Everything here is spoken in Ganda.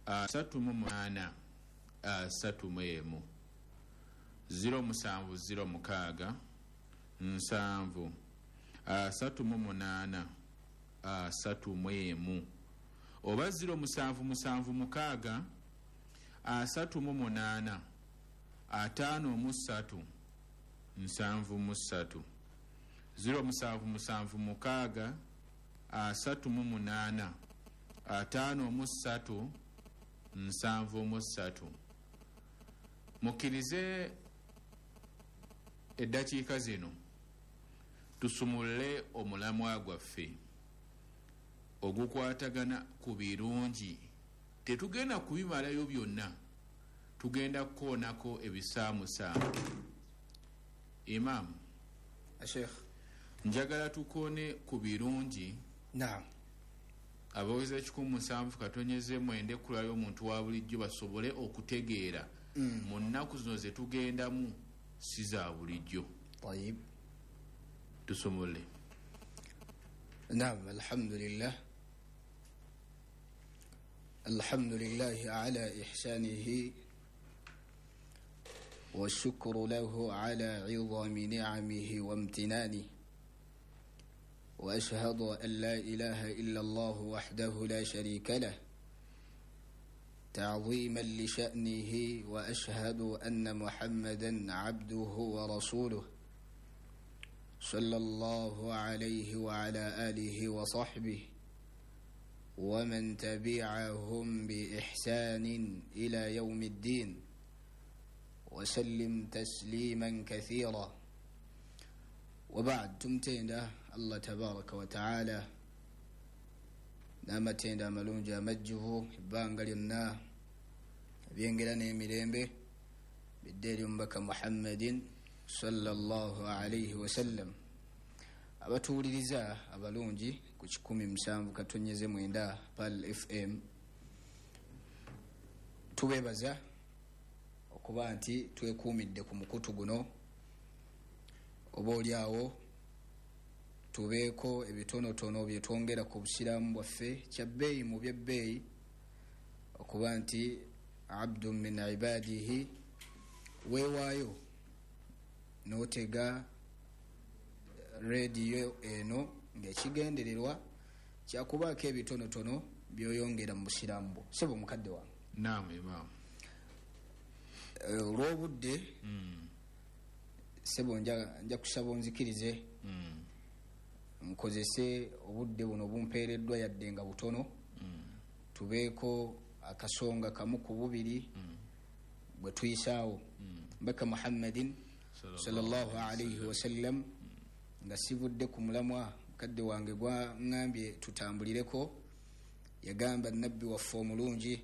38 31, 0706 7 38 31, oba 0776 38 53 73, 0776 38 53 73. Mukkirize eddakiika zino tusumulule omulamwa gwaffe ogukwatagana ku birungi. Tetugenda kubimalayo byonna, tugenda kukoonako ebisaamusaamu. Imaamu, Sheikh, njagala tukoone ku birungi. Naam. Abaweza 179 ekulayo omuntu wa bulijjo basobole okutegeera mu nnaku zino ze tugendamu si za bulijjo. Tayib. Tusumulule. Naam, alhamdulillah. Alhamdulillahi ala ihsanihi والشكر له على عظم نعمه وامتنانه، وأشهد أن لا إله إلا الله وحده لا شريك له تعظيما لشأنه، وأشهد أن محمدا عبده ورسوله صلى الله عليه وعلى آله وصحبه ومن تبعهم بإحسان إلى يوم الدين وسلم تسليما كثيرا. وبعد، tumtenda Allah tabaraka wa taala n'amatenda amalungi amajjuvu ebbanga lyonna, ebyengera n'emirembe bidde eri omubaka Muhammadin sallallahu alaihi wasallam. Abatuwuliriza abalungi ku 107.9 Pal FM, tubeebaza okuba nti twekuumidde ku mukutu guno, oba oliawo tubeeko ebitonotono byetwongera ku busiraamu bwaffe. Kyabbeeyi mu byebbeeyi okuba nti abdu min ibadihi, weewaayo n'otega rediyo eno ng'ekigendererwa kyakubaako ebitonotono by'oyongera mu busiraamu bwo. Sebo mukadde wange. Naam, imaamu. Olw'obudde, sebo, nja kusaba onzikirize nkozese obudde buno bumpeereddwa, yadde nga butono, tubeeko akasonga kamu ku bubiri bwe tuyisaawo. Mbaka Muhammadin sallallahu alaihi wasallam, nga sivudde ku mulamwa mukadde wange gwaŋŋambye tutambulireko, yagamba nabbi waffe omulungi